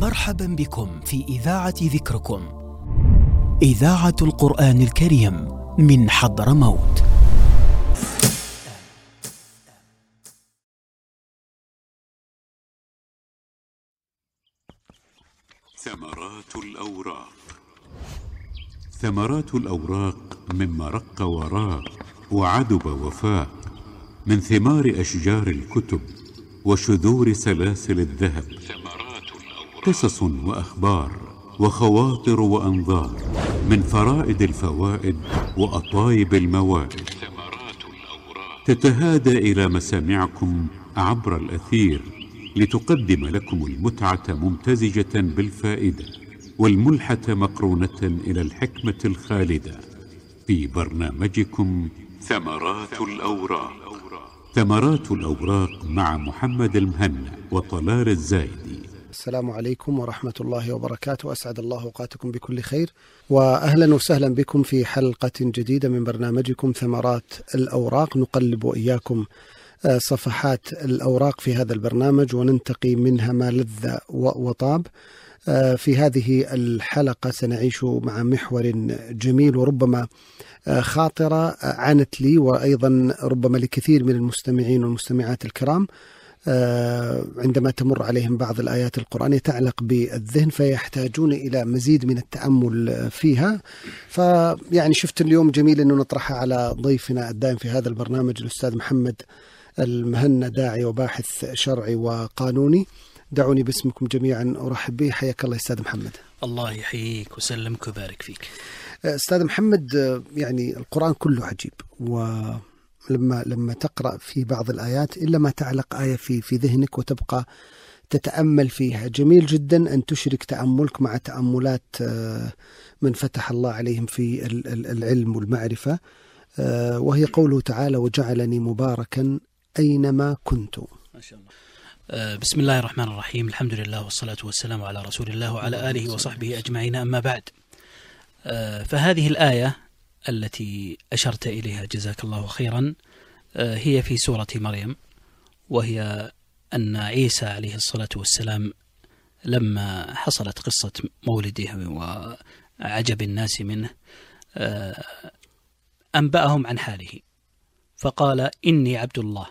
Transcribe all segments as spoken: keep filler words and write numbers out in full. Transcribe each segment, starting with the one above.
مرحبا بكم في إذاعة ذكركم، إذاعة القرآن الكريم من حضرموت. ثمرات الأوراق. ثمرات الأوراق مما رق وراق وعدب وفاق، من ثمار أشجار الكتب وشذور سلاسل الذهب، قصص وأخبار وخواطر وأنظار، من فرائد الفوائد وأطايب الموائد، تتهادى إلى مسامعكم عبر الأثير لتقدم لكم المتعة ممتزجة بالفائدة، والملحة مقرونة إلى الحكمة الخالدة، في برنامجكم ثمرات الأوراق. ثمرات الأوراق مع محمد المهنا وطلال الزايدي. السلام عليكم ورحمة الله وبركاته، أسعد الله أوقاتكم بكل خير، وأهلا وسهلا بكم في حلقة جديدة من برنامجكم ثمرات الأوراق. نقلب وإياكم صفحات الأوراق في هذا البرنامج وننتقي منها ما لذ وطاب. في هذه الحلقة سنعيش مع محور جميل وربما خاطرة عنت لي وأيضا ربما لكثير من المستمعين والمستمعات الكرام عندما تمر عليهم بعض الآيات القرآنية تعلق بالذهن فيحتاجون إلى مزيد من التأمل فيها. فيعني شفت اليوم جميل أنه نطرحها على ضيفنا الدائم في هذا البرنامج الأستاذ محمد المهنا، داعي وباحث شرعي وقانوني. دعوني باسمكم جميعا أرحب به. حياك الله أستاذ محمد. الله يحييك وسلمك وبارك فيك أستاذ محمد. يعني القرآن كله عجيب، ولما لما تقرأ في بعض الآيات إلا ما تعلق آية في في ذهنك وتبقى تتأمل فيها. جميل جدا أن تشرك تأملك مع تأملات من فتح الله عليهم في العلم والمعرفة، وهي قوله تعالى: وجعلني مباركا أينما كنت. ما شاء الله. بسم الله الرحمن الرحيم، الحمد لله والصلاة والسلام على رسول الله وعلى آله وصحبه أجمعين، أما بعد. فهذه الآية التي أشرت إليها جزاك الله خيرا هي في سورة مريم، وهي أن عيسى عليه الصلاة والسلام لما حصلت قصة مولده وعجب الناس منه أنبأهم عن حاله فقال: إني عبد الله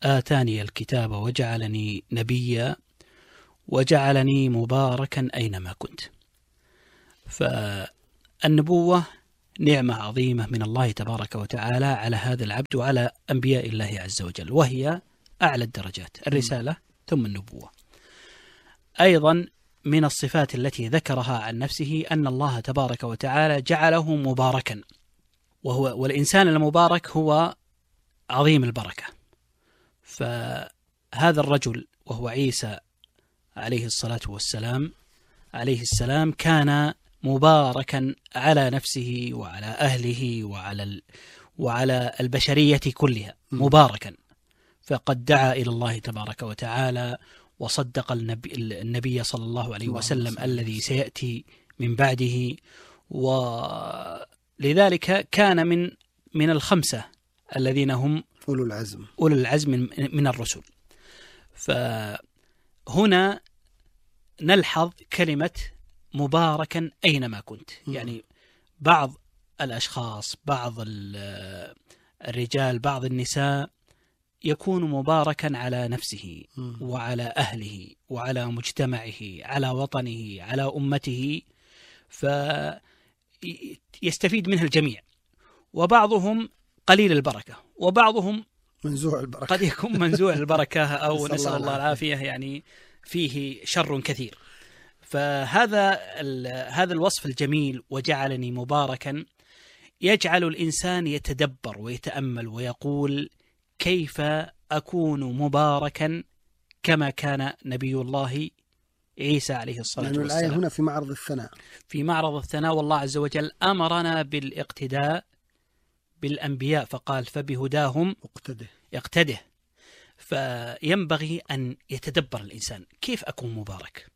آتاني الكتاب وجعلني نبيا وجعلني مباركا أينما كنت. فالنبوة نعمة عظيمة من الله تبارك وتعالى على هذا العبد وعلى أنبياء الله عز وجل، وهي أعلى الدرجات، الرسالة ثم النبوة. أيضا من الصفات التي ذكرها عن نفسه أن الله تبارك وتعالى جعله مباركا، وهو والإنسان المبارك هو عظيم البركة. فهذا الرجل وهو عيسى عليه الصلاة والسلام عليه السلام كان مباركا على نفسه وعلى أهله وعلى وعلى البشرية كلها، مباركا. فقد دعا إلى الله تبارك وتعالى وصدق النبي, النبي صلى الله عليه وسلم الذي سيأتي من بعده، ولذلك كان من من الخمسة الذين هم أولو العزم أولو العزم من, من الرسل. فهنا نلحظ كلمة مباركا أينما كنت، يعني بعض الأشخاص، بعض الرجال، بعض النساء يكون مباركا على نفسه وعلى أهله وعلى مجتمعه، على وطنه، على أمته، فيستفيد منها الجميع. وبعضهم قليل البركة، وبعضهم منزوع البركة، قد يكون منزوع البركة أو نسأل الله العافية، يعني فيه شر كثير. فهذا هذا الوصف الجميل وجعلني مباركا يجعل الإنسان يتدبر ويتأمل ويقول: كيف أكون مباركا كما كان نبي الله عيسى عليه الصلاة والسلام؟ الآية هنا في معرض الثناء، في معرض الثناء، والله عز وجل أمرنا بالاقتداء بالأنبياء فقال: فبهداهم اقتده يقتده. فينبغي أن يتدبر الإنسان كيف أكون مبارك.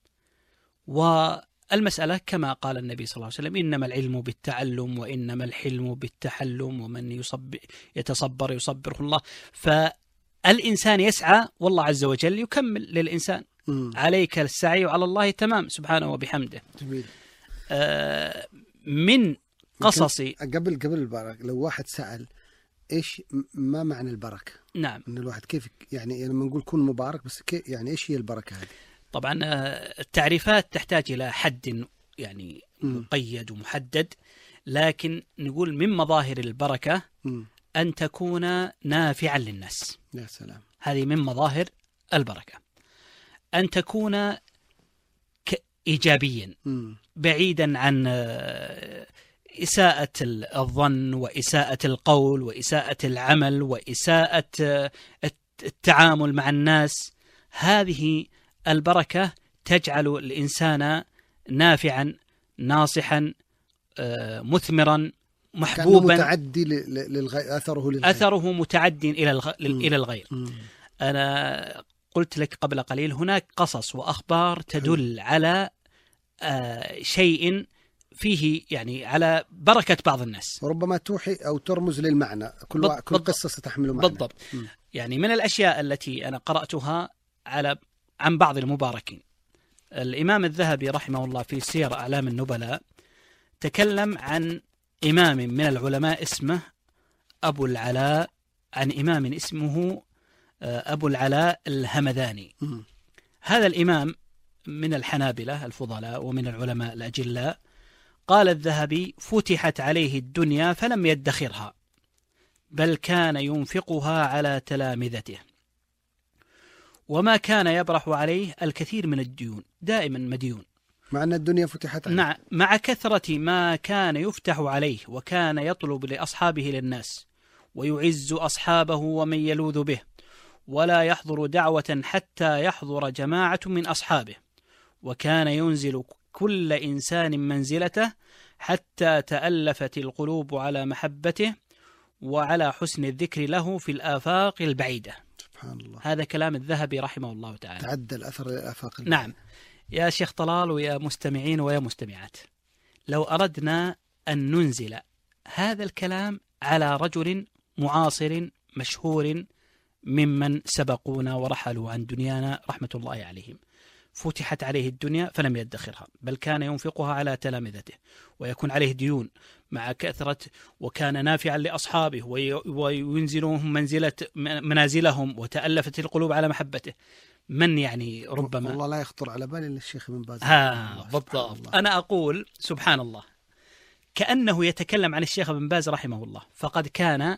والمسألة كما قال النبي صلى الله عليه وسلم: إنما العلم بالتعلم وإنما الحلم بالتحلم ومن يصب يتصبر يصبره الله. فالإنسان يسعى والله عز وجل يكمل للإنسان، مم. عليك السعي وعلى الله تمام سبحانه وبحمده. جميل. آه من قصصي قبل قبل البركة، لو واحد سأل إيش ما معنى البركة؟ نعم. إن الواحد كيف يعني لما نقول كن مبارك، بس كيف يعني إيش هي البركة هذه؟ طبعا التعريفات تحتاج إلى حد يعني مقيد ومحدد، لكن نقول من مظاهر البركة م. أن تكون نافعا للناس. يا سلام. هذه من مظاهر البركة، أن تكون إيجابيا م. بعيدا عن إساءة الظن وإساءة القول وإساءة العمل وإساءة التعامل مع الناس. هذه البركة تجعل الإنسان نافعا ناصحا مثمرا محبوبا، متعدي للغير، أثره للغير، أثره متعدي إلى الغ... إلى الغير. م. أنا قلت لك قبل قليل هناك قصص وأخبار تدل على شيء فيه يعني على بركة بعض الناس، وربما توحي أو ترمز للمعنى. كل, و... كل قصة ستحمل معنى. بالضبط. م. يعني من الأشياء التي أنا قرأتها على عن بعض المباركين، الإمام الذهبي رحمه الله في سير أعلام النبلاء تكلم عن إمام من العلماء اسمه أبو العلاء، عن إمام اسمه أبو العلاء الهمذاني. م. هذا الإمام من الحنابلة الفضلاء ومن العلماء الأجلاء. قال الذهبي: فتحت عليه الدنيا فلم يدخرها، بل كان ينفقها على تلامذته، وما كان يبرح عليه الكثير من الديون، دائما مديون، مع أن الدنيا فتحت عليه. مع, مع كثرة ما كان يفتح عليه، وكان يطلب لأصحابه للناس ويعز أصحابه ومن يلوذ به، ولا يحضر دعوة حتى يحضر جماعة من أصحابه، وكان ينزل كل إنسان منزلته حتى تألفت القلوب على محبته وعلى حسن الذكر له في الآفاق البعيدة. سبحان الله. هذا كلام الذهبي رحمه الله تعالى. تعدى الأثر للآفاق البعيدة. نعم. يا شيخ طلال ويا مستمعين ويا مستمعات، لو أردنا أن ننزل هذا الكلام على رجل معاصر مشهور ممن سبقونا ورحلوا عن دنيانا رحمة الله عليهم، فتحت عليه الدنيا فلم يدخرها، بل كان ينفقها على تلامذته، ويكون عليه ديون مع كثرة، وكان نافعا لأصحابه وينزلهم منزلة منازلهم، وتألفت القلوب على محبته. من يعني ربما والله لا يخطر على بالي الشيخ ابن باز. ها بالضبط. أنا أقول سبحان الله، كأنه يتكلم عن الشيخ ابن باز رحمه الله، فقد كان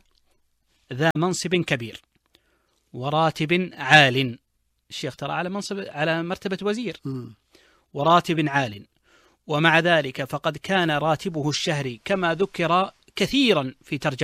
ذا منصب كبير وراتب عال. الشيخ ترى على منصب على مرتبة وزير م. وراتب عال، ومع ذلك فقد كان راتبه الشهري كما ذكر كثيرا في ترجمة